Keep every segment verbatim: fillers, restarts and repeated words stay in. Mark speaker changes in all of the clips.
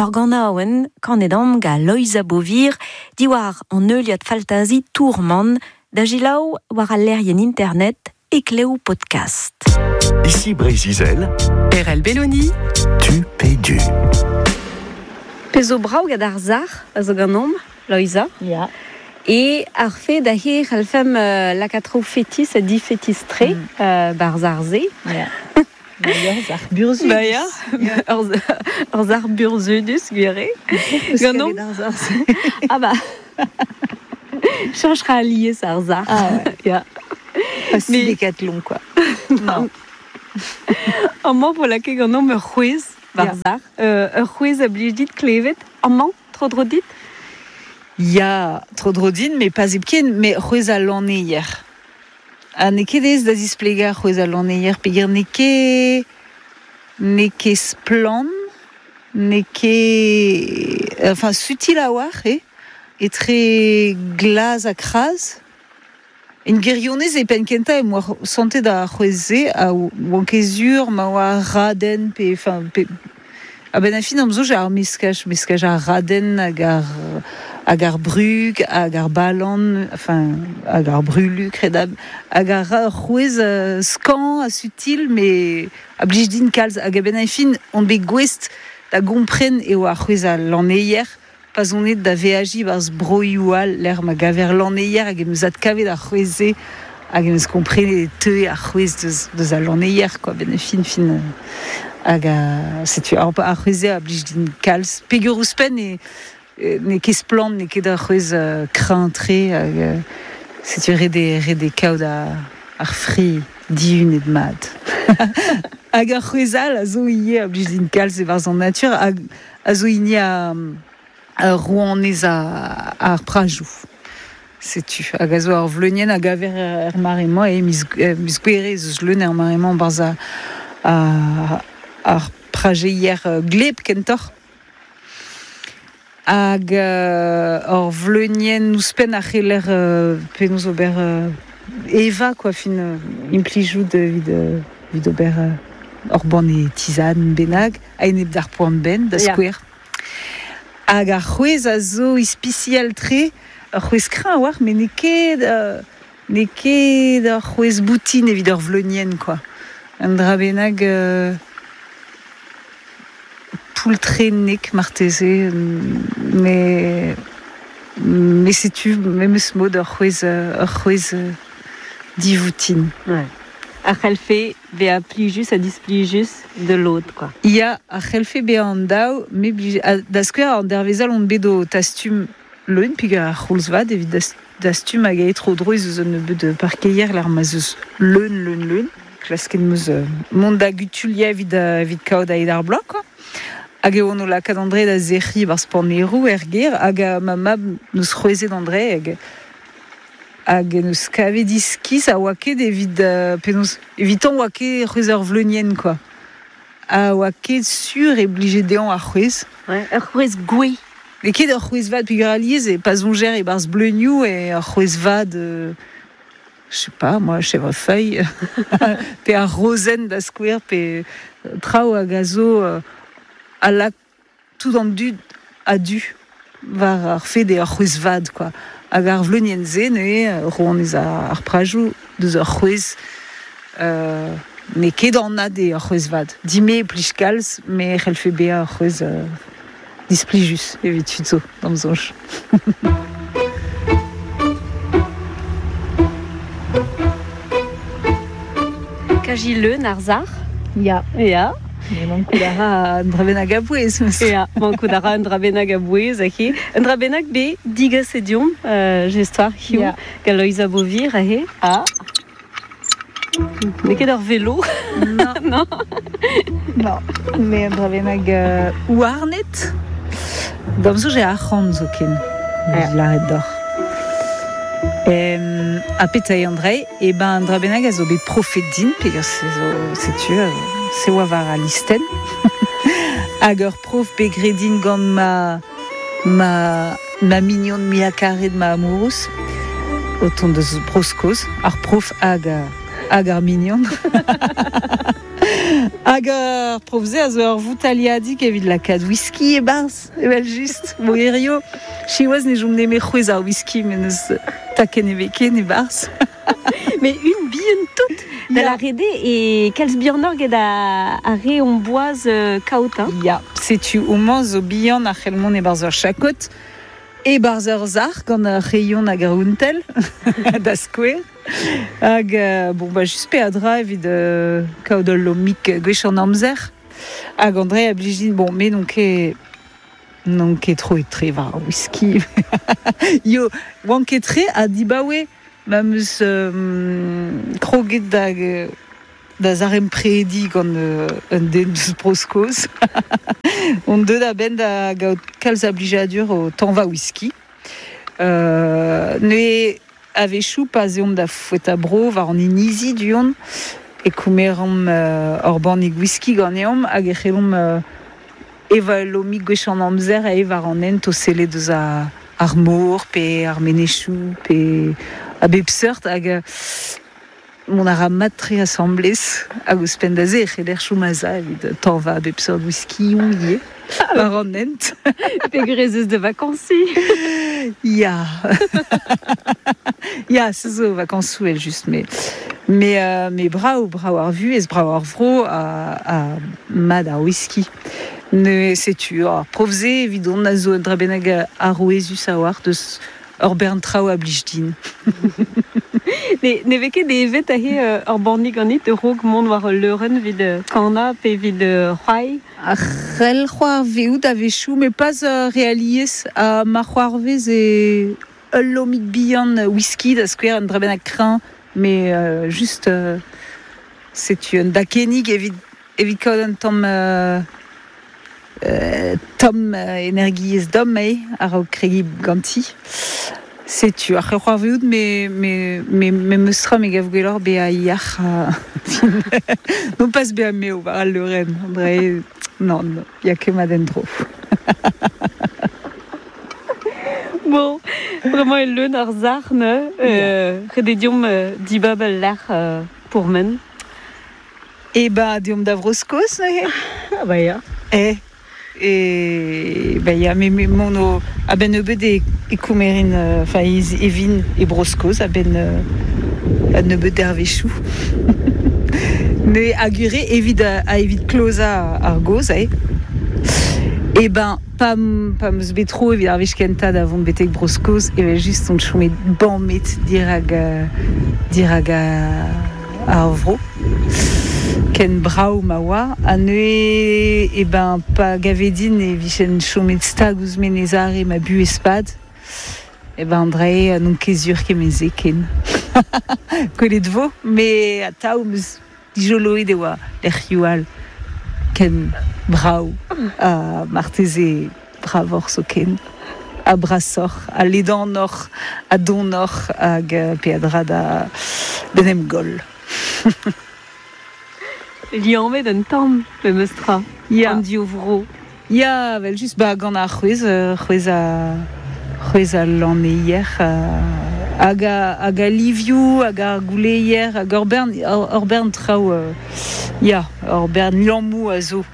Speaker 1: Ur ganaouenn kanet am gant Loeiza Beauvir diwar an heuliad faltazi Tourmant da selaou war al lec'hienn internet Eklev Podcast.
Speaker 2: Ici Breizh-Izel,
Speaker 3: Erell Belloni,
Speaker 2: tu pe du.
Speaker 1: Pezh zo brav gant ar sac'h a zo ganeomp, Loeiza.
Speaker 4: Ya.
Speaker 1: E ar fed a he c'hallfemp euh, lakaat traoù fetis ha difetis-tre
Speaker 4: Mm.
Speaker 1: euh, barzh ar se.
Speaker 4: Ya. Ba ya, sac'h burzhudus.
Speaker 1: Ba ya, ur ur sac'h burzhudus, gwir eo. Ganeomp.
Speaker 4: Ar sac'h.
Speaker 1: Ah ba. Cheñch ra alies ar sac'h.
Speaker 4: Ah ouais.
Speaker 1: Ya.
Speaker 4: Pas si
Speaker 1: Mais-
Speaker 4: Décathlon, quoi. Non.
Speaker 1: Amañ vo lakaet ganeomp ur c'hwezh war sac'h. Euh, ur c'hwezh a blij dit klevet. Amañ, tro dro dit?
Speaker 4: Ya, tro dro din, mais pas hepken, mais c'hwezh al lanneier. Ha n'eo ket aes da zisplegañ c'hwezh al lanneier, peogwir n'eo ket n'eo ket splann, n'eo ket... Enfin, sutil a-walc'h eo, etre glas ha kraz. En gwirionez e penn kentañ em boa santet ar c'hwezh-se a oan ket sur ma oa raden pe... Enfin, pe... A-benn ar fin am soñj ar meskaj, meskaj ar raden hag ar, hag ar brug, hag ar balan, enfin, hag ar brulu, kredab, hag ar ra ur c'hwezh euh, skañv ha sutil, mais a blij din kalz. Hag a-benn ar fin on bet gouest da gompren eo ar c'hwezh al lanneier, pa 'z on aet da veajiñ barzh broioù all lec'h ma gaver lanneier hag em eus adkavet ar c'hwezh-se hag em eus komprenet e teue ar c'hwezh deus, deus al lanneier, quoi, benn ar fin, fin, euh, hag a, setu ar, ar c'hwezh-se a blij din kalz. Peogwir ouzhpenn e, e, n'eo ket splann, n'eo ket ar c'hwezh, euh, kreñv-tre, hag, euh, setu ret eo, ret eo kaout ar, ar fri dihunet mat. Hag ar c'hwezh all a zo ivez a blij din kalz e-barzh an natur, hag a zo hini a, a rouanez a, ar prajoù. Setu, hag a zo ar vleunienn a gaver er mare-mañ, e miz, e miz Gouere ez eus leun er mare-mañ barzh a, a, ar prajeier gleb kentoc'h. Hag euh, ur vleunienn ouzhpenn a c'heller euh, penaos ober euh, evañ, quoi, fin euh, implijout evit, euh, evit ober euh, ur banne tisane bennak, a-enep d'ar poan benn, da
Speaker 1: Ya.
Speaker 4: skouer. Hag ar c'hwezh a zo ispisial-tre, ur c'hwezh kreñv a-walc'h, met n'eo ket, euh, n'eo ket ur c'hwezh boutin evit ur vleunienn, quoi. Un dra bennak, euh, poultrennek marteze, mais, mais setu memes mod ur c'hwezh, ur c'hwezh, euh, divoutin.
Speaker 1: Ouais. A c'hellfe bezañ plijus ha displijus de l'autre, quoi.
Speaker 4: Ya, a c'hellfe bezañ an daou, me blij, a, da skouer an dervezh all on bet o tastum leun, peogwir ar c'houlz vat evit das, dastum hag aet tro dro ez eus un nebeud parkeier lec'h ma 'z eus leun, leun, leun. Klasket 'm eus, euh, mont da gutuliañ evit, euh, evit kaout a-hed ar bloaz, quoi. Hag eo on o lakaat an dre da sec'hiñ barzh paneroù er gêr, hag a ma mab neus c'hwezhet an dre, hag, hag neus kavet iskis a oa ket evit, euh, penaos, evitan oa ket c'hwezh ur vleunienn, quoi. A oa ket sur e blije dezhañ ar c'hwezh.
Speaker 1: Ouais, ur c'hwezh gouez.
Speaker 4: N'eo ket ur c'hwezh vat peogwir alies e pa soñjer e-barzh bleunioù e ur c'hwezh vat, euh, je sais pas, moi, chèvrefeuille, pe ar rozenn da skouer, pe traoù hag a zo, euh, a lak tout an dud a-du war ar fed eo ur c'hwezh vat, quoi. Hag ar vleunienn-se, neuze, rouanez ar, ar prajoù deus ur c'hwezh, euh, n'eo ket anat eo ur c'hwezh vat. Dime e plij kalz, mais c'hellfe bezañ ur c'hwezh, euh, displijus evit tud zo, d'am soñj.
Speaker 1: Kaji leun ar sac'h?
Speaker 4: Ya.
Speaker 1: Ya.
Speaker 4: Mais mankout a ra un dra bennak a bouez.
Speaker 1: Ya, mankout a ra un dra bennak a bouez, ahe. Un dra bennak bet digaset deomp, euh, just-war, hiziv,
Speaker 4: Ya.
Speaker 1: gant Loeiza Beauvir, ahe.
Speaker 4: Ah.
Speaker 1: N'eo ket ur velo.
Speaker 4: Non.
Speaker 1: Non.
Speaker 4: Non. Mais un dra bennak, euh, houarnet. D'am soñj eo arc'hant zoken.
Speaker 1: Ya.
Speaker 4: Lâret deoc'h. Em, ha petra eo an dra-se? E ben, un dra bennak a zo bet profet din, peogwir se zo, setu, euh, se oa war al listenn. Hag ur prof bet graet din gant ma, ma, ma mignon muiañ karet ma amourouz, o tont deus Bro-Skos, ar prof hag, hag ar mignon. Hag ur profze a zo ur voutaliadik evit lakaat whisky e barz, evel just, bo erio. Siwazh ne jom neme c'hwez ar whisky, men eus taken eveken e barz.
Speaker 1: Mais une bihan tout da la rede e kalz bihanoc'h get a, a re on boaz euh, kaout, hein.
Speaker 4: Ya, setu homañ zo bihan ar c'hellmont e barz ur chakot, e barz ur zar gant ar rayon hag ar ountel, da skouer. Hag, euh, bon, ba, just pe a dra evit euh, kaout ul lomik gwech an amzer. Hag André a blijin, bon, me non ket non ket tro etre war ar whisky. Yo, oan ket tre a dibaoe ma meus euh, kroget da, da zarem predi gant euh, un den deus Bro-Skos. On deut da ben da gaout kalz a blijadur o tanva whisky. Euh, ne a-wechou pa zeomp da foueta bro war an inizi du-hont e koumeromp euh, ur bannig whisky ganeomp hag e c'hellomp euh, eva lomig gwech an amzer a war an hent o sellet deus a ar mor pe ar menechou pe a bep seurt hag euh, mon a ra mat tre asamblez hag ouzhpenn da se e c'heller chom a-za evit tanva a bep seurt whisky ou ivez war an hent.
Speaker 1: Pe grezez de vacances.
Speaker 4: Ya. Ya, se zo vakansoù el just, mais mais euh, mais brao, brao ar vuhez, brao ar vro a, a mad ar whisky. Ne setu ar profze evit on a zo un dra bennak arouezus a war deus ur bern traoù a blij din.
Speaker 1: Ne, ne vez ket evet ahe euh, ur bannig ganit raok mont war ul leurenn evit euh, kana pe evit euh, c'hoari.
Speaker 4: Ar c'hell c'hoarveout a-wechoù, mais pas euh, re alies a ma c'hoarvez e ul lomig bihan whisky da skouer un dra bennak kreñv, mais euh, juste euh, setu un dakennig evit evit kaout un tamm euh, euh, tamm euh, energiezh domm eo a-raok kregiñ ganti. Setu ar c'hoarveout me me me me meus tra me gav gwelloc'h bezañ yac'h ha non pas bezañ meo war al leurenn, André, non, non, ya ket mat en-dro.
Speaker 1: Bon, vraiment e leun ar sac'h neuze, euh, ret eo deomp euh, dibab al lec'h euh, pourmen.
Speaker 4: E ba deomp da Vro-Skos neuze.
Speaker 1: Ah ba ya.
Speaker 4: Eh, e ba ya, me, me mont o a-benn nebeut e, e koumerin, euh, enfin ez evin e Bro-Skos a-benn euh, a nebeut dervezhioù. Ne agure evit a, a evit klozañ ar goz, eh. E ben, pa, pa meus bet tro evit ar wech kentañ da vont betek Bro-Skos, evel just on chomet bamet dirak, euh, dirak ar vro. Ken brav ma oa, ha neuze e ben pa gave din e vijen chomet stag ouzh Menez-Are ma buhez pad, e ben André n'on ket sur kement-se ken. Gwelet vo, mais atav meus dijoloet e oa lec'hioù all ken brav ha marteze bravoc'h zoken, ha brasoc'h, ha ledanoc'h, ha donoc'h hag peadra da d'en em goll.
Speaker 1: Liammet un tamm, memes tra,
Speaker 4: Ya.
Speaker 1: an div vro.
Speaker 4: Ya, evel just, ba gant ar c'hwez, euh, c'hwez a c'hwez a lanneier, euh, hag a, hag a livioù, hag ar gouleier, hag ur bern, ur, ur bern traoù, euh, ya, ur bern liammoù a zo.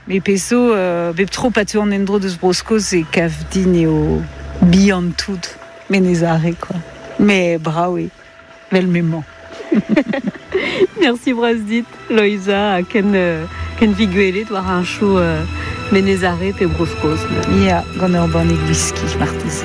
Speaker 4: Me pezh zo, euh, bep tro pa teu an endro deus Bro-Skos e kav din eo bihan tout, Menez-Are, quoi. Mais brav eo, vel m'emañ.
Speaker 1: Merci bras dit, Loiza, ha ken, euh, ken vi gwelet war un chou euh, Menez-Are pe Bro-Skos.
Speaker 4: Ya, gant ur bannig whisky, marteze.